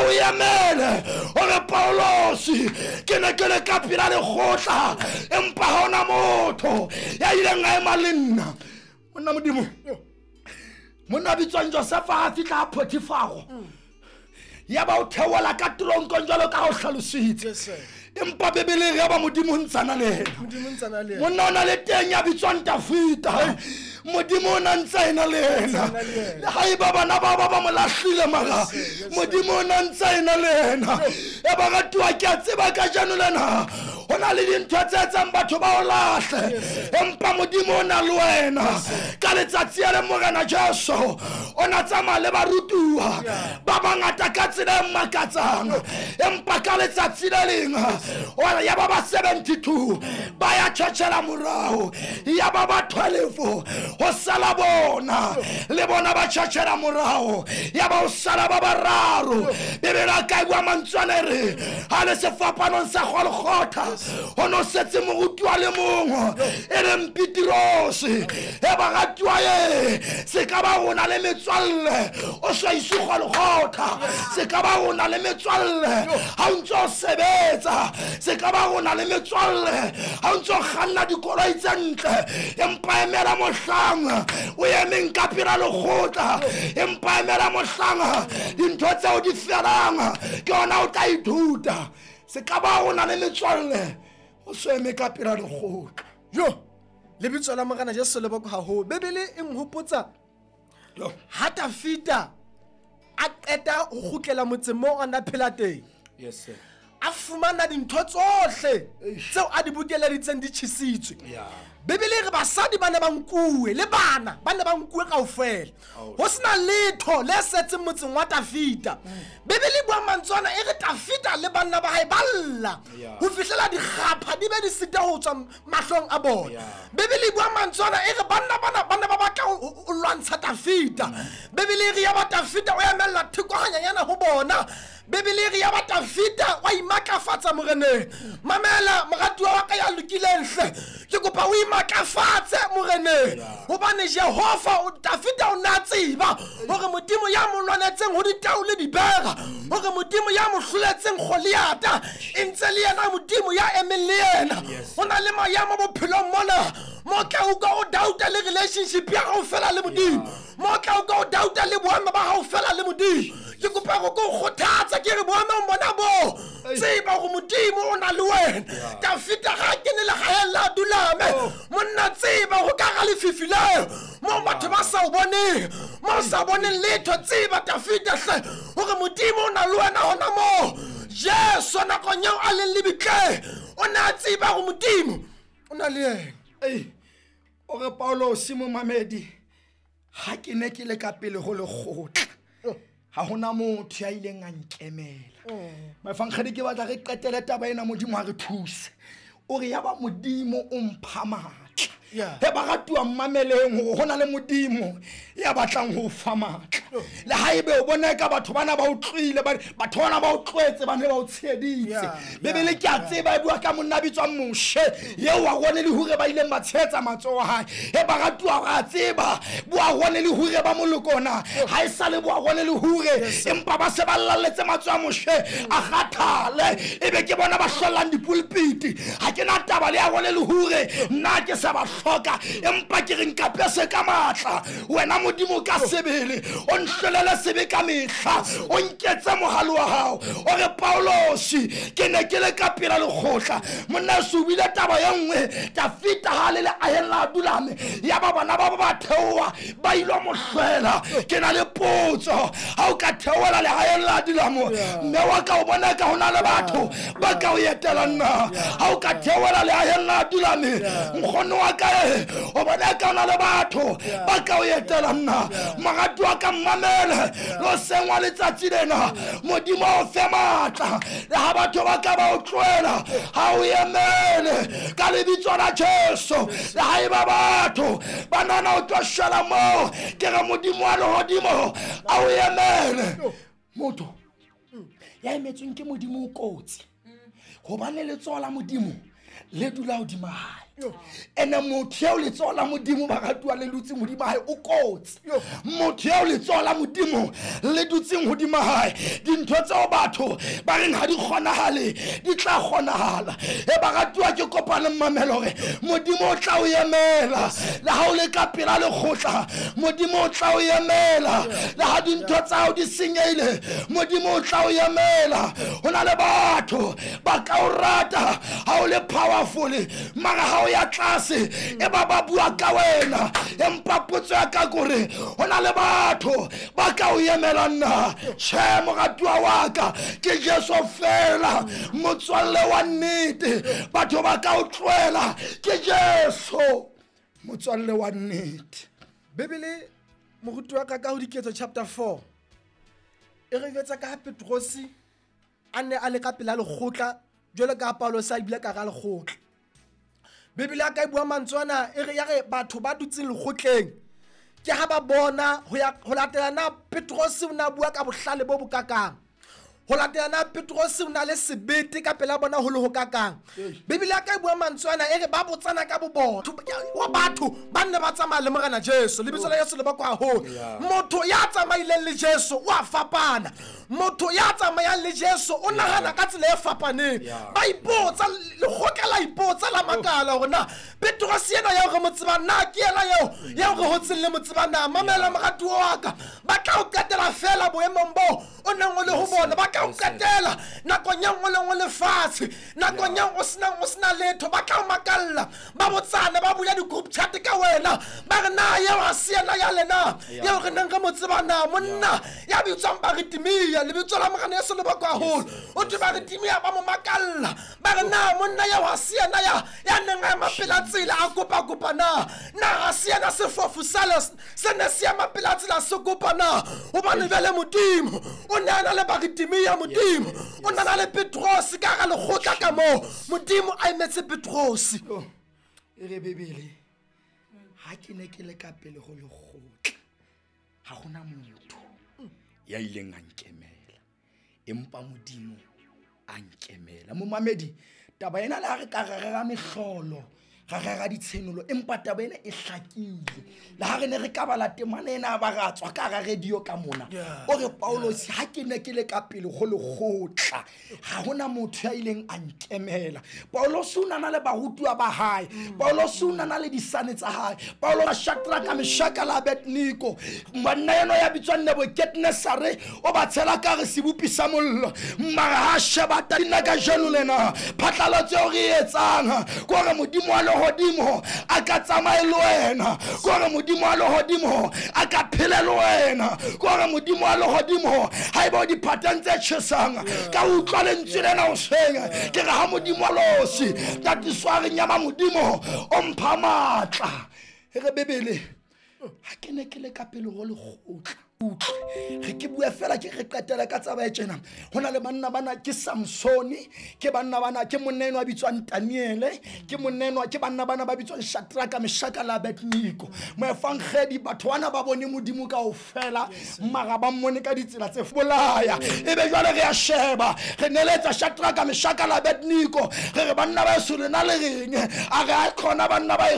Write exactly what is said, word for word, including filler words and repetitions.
A o emele o re Paulosi ke ne ke le ka pela lekgotla empa ha hona motho ya ileng a ema le nna. Monna Modimo, monna bitswang Josefa ha fihla ha Potifaro, ya ba o theola ka toronkong jwalo ka ha o hlalositse. Empa Bibele ya ba Modimo ntsana le yena. Modimo ntsana le yena. Monna o na le teng ya bitswang Tafita. Modimo o na ntse ena le yena. Le haeba bana ba ba ba mo lahlile mara Modimo o na ntse ena le yena. E ba ratuwa ke a tseba kajeno lena ho na le dintho tse etsang batho ba o lahle, empa Modimo o na le wena. Ka letsatsi le Morena Jesu o na tsamaya le barutuwa ba bangata ka tsela e makatsang, empa ka letsatsi le leng ya ba ba seventy-two ba ya tjhetjhela morao, ya ba ba twelve ho sala bona le bona ba tjhetjhela morao, ya ba o sala ba bararo. Bibele ka bua mantswe re ha le sefapanong sa Golgotha ho no setse moruti wa le mongwe e leng Petrose. E ba ratuwa e se ka ba rona le metswalle o sa ise Golgotha, se ka ba rona le metswalle ha o ntso sebetsa, se ka ba rona le metswalle ha o ntso kganna dikoloi tse ntle, empa emela mohlang o emeng ka pela lekgotla, empa emela mohlang dintho tseo di felang ke ona o tla ithuta. Se ka ba rona le metswalle o so eme ka pela lekgotla. Jo, lebitso la Morena Jesu le boko haholo. Bibele e nhopotsa ha Tafita a qeta ho kgutlela motseng moo a na phela teng. Yes sir. A fumana dintho tsohle tseo a di bokeleditseng di tjhisitswe. Bibele re basadi ba ne ba nkuwe le bana ba ne ba nkuwe kaofela, ho sena letho le setseng motseng wa Tafita. Bibele e bua mantswe ana e re Tafita le banna ba hae ba lla ho fihlela dikgapha di be di sita ho tswa mahlong a bona. Bibele e bua mantswe ana e re banna bana ba ne ba batla ho lwantsha Tafita. Bibele e re ya ba Tafita o emella theko hanyanyana ho bona. Bibele e re ya ba Tafita wa imatlafatsa moreneng. Mamela moratuwa wa ka ya lokileng hle, ke kopa o imatlafatse moreneng, hobane Jehova Tafita o na tseba hore Modimo ya mo lwanetseng ho ditau le dibera, hore Modimo ya mo hloletseng Goliata e ntse le yena Modimo ya emeng le yena. Ho na le maemo bophelong mona mo tla utlwa o doubta le relationship ya hao fela le Modimo, mo tla utlwa o doubta le boemo ba hao fela le Modimo. Ke kopa go kgothatsa ke re boemong bona bo tseba hore Modimo o na le wena. Tafita ga kene legaeng la Adulame, monna tseba go ka ga lefifi leo mo batho ba sa o boneng, mo sa boneng letho. Tseba Tafita hle hore Modimo o na le wena hona moo. Jesu nakong eo a leng lebitleng o ne a tseba hore Modimo o na le yena. Ei, o re Paulosi momamedi, ha ke ne ke le ka pele ho lekgotla ha hona motho ya ileng a nkemela. Mafankgedi ke batla re qetele taba ena, Modimo ha re thuse. O re ya ba Modimo o mpha matla. He ba ratuwa mmameleng hore ho na le Modimo ya batlang ho fa matla. Le haebe o bona ka batho bana ba o tloile, batho bana ba o tloetse, ba ne ba o tsheheditse. Bibele ke a tseba e bua ka monna bitswang Moshe eo wa rone le hore ba ileng ba tshehetsa matsoho a hae. He ba ratuwa ra tseba bua rone le hore ba molokona ha e sale bua rone le hore, empa ba se ba lalletse matsoho a Moshe a kgathale, ebe ke bona ba hlollang dipulpiti. Ha ke na taba le ya rone le hore nna ke sa ba hloka, empa ke re nkapese ka matla wena Modimo ka sebele, o nhlolele sebe ka mehla, o nketse mohale wa hao. O re Paulosi ke ne ke le ka pela lekgotla, monna se o bile taba ye nngwe. Tafita ha le le aheng la Adulame, ya ba bana ba ba theoha ba ilo mo hlwela. Ke na le potso, ha o ka theohela lehaeng la Adulame, mme wa ka o bona ka ho na le batho ba ka o etela nna. Ha o ka theohela lehaeng la Adulame, nkgono wa ka o bona ka ho na le batho ba ka o etela nna. Morati wa ka mmamele lo sengwa letsatsi lena, Modimo o fe matla. Le ha batho ba ka ba o tlohela, ha o emele ka lebitso la Jesu. Le haeba batho ba nana o tlo shwela moo, ke re Modimo wa lehodimo a o emele. Motho ya emetsweng ke Modimo o kotsi, hobane letsoho la Modimo le dula hodima hae. Ene motho eo letsoho la Modimo ba ratuwa le dutseng hodima hae o kotsi. Motho eo letsoho la Modimo le dutseng hodima hae, dintho tseo batho ba reng ha di kgonahale di tla kgonahala. E ba ratuwa ke kopane mmamelo hore Modimo o tla o emela le ha o le ka pela lekgotla, Modimo o tla o emela le ha dintho tsa hao di senyehile, Modimo o tla o emela. Ho na le batho ba ka o rata ha o le powerful, mara ha o ya tlase e ba ba bua ka wena. Empa potso ya ka kore ho na le batho ba ka o emelang na? Tjhe, moratuwa wa ka, ke Jesu fela motswalle wa nnete. Batho ba ka o tlohela, ke Jesu motswalle wa nnete. Bibele moruti wa ka ka ho Diketso chapter four e re jwetsa ka ha Petrosi a ne a le ka pela lekgotla jwalo ka Paulosi a bile ka hara lekgotla. Bibele ya ka e bua mantswe ana e re ya re batho ba dutseng lekgotleng ke ha ba bona ho ya ho latela na Petrosi o na bua ka bohlale bo bokakang, ho latela na Petrosi o na le sebete ka pela bona ho le ho kakang. Bibele ya ka e bua mantswe ana e re ba botsana ka bobona wa batho ba nne ba tsamaya le Morena Jesu, lebitso la Jesu le bakwa haholo. Motho ya tsamaileng le Jesu o a fapana, motho ya tsamayang le Jesu o nahana ka tsela e fapaneng. Ba ipotsa, lekgotla la ipotsa la makala hore na Petrosi ena eo re mo tsebang na ke yena eo eo re hotseng le mo tseba na? Mamela moratuwa wa ka, ba tla o qetela fela boemong boo o neng o le ho bona, ba tla o qetela nakong e nngwe le nngwe lefatshe, nakong eo o senang o sena letho, ba tla o makalla, ba botsane, ba bula di-group chat ka wena, ba re na eo ha se yena ya lena eo re neng re mo tseba na? Monna ya bitswang Bartimea, lebitso la Morena Jesu le bakwa haholo, o thwe Bartimea ba mo makalla, ba re na monna eo ha se yena ya ya neng a ema pela tsela a kopa-kopa na? Na ha se yena sefofu sale se ne se ema pela tsela se kopa na? Hobane jwale Modimo o ne a na le Bartimea, Modimo o ne a na le Petrosi ka hara lekgotla ka moo, Modimo a emetse Petrosi. E re Bibele, ha ke ne ke le ka pele ho lekgotla, ha hona motho ya ileng a nkemela, empa Modimo a nkemela. Momamedi, taba ena le ha re ka rera mehlolo, ra rera ditshenolo, empa taba ena e hlakile. Le ha re ne re ka bala temana ena ba ra tswa ka hara radio ka mona, o re Paulosi, ha ke ne ke le ka pele ho lekgotla, ha hona motho ya ileng a nkemela. Paulosi o na na le barutuwa ba hae, Paulosi o na na le disane tsa hae, Paulo Shadraka, Meshaka le Abednego, monna eno ya bitswang Nebukadnezare o ba tshela ka re sebopi sa mollo, mara ha sheba nna kajeno lena phatlalatso eo re e etsang ke hore Modimo wa lehodimo a ka tsamaye le wena, ke hore Modimo wa lehodimo a ka phele le wena, ke hore Modimo wa lehodimo haeba o diphateng tse tjhesang ka utlwa lentswe lena hoseng, ke re ha Modimo wa losi tatiso a re nyama Modimo o mpha matla. E re Bibele, ha ke ne ke le ka pele ho lekgotla, utlwe re ke bua fela ke re qetela ka tsaba e tjena. Ho na le banna bana ke Samsone, ke banna bana ke monna enwa a bitswang Daniele, ke monna enwa ke banna bana ba bitswang Shadraka, Meshaka le Abednego. Moefangedi batho bana ba bone Modimo kaofela, mara ba mmone ka ditsela tse bolaya. Ebe jwale re a sheba, re neletsa Shadraka, Meshaka le Abednego, re re banna ba eso lena le reng? A re a khona banna ba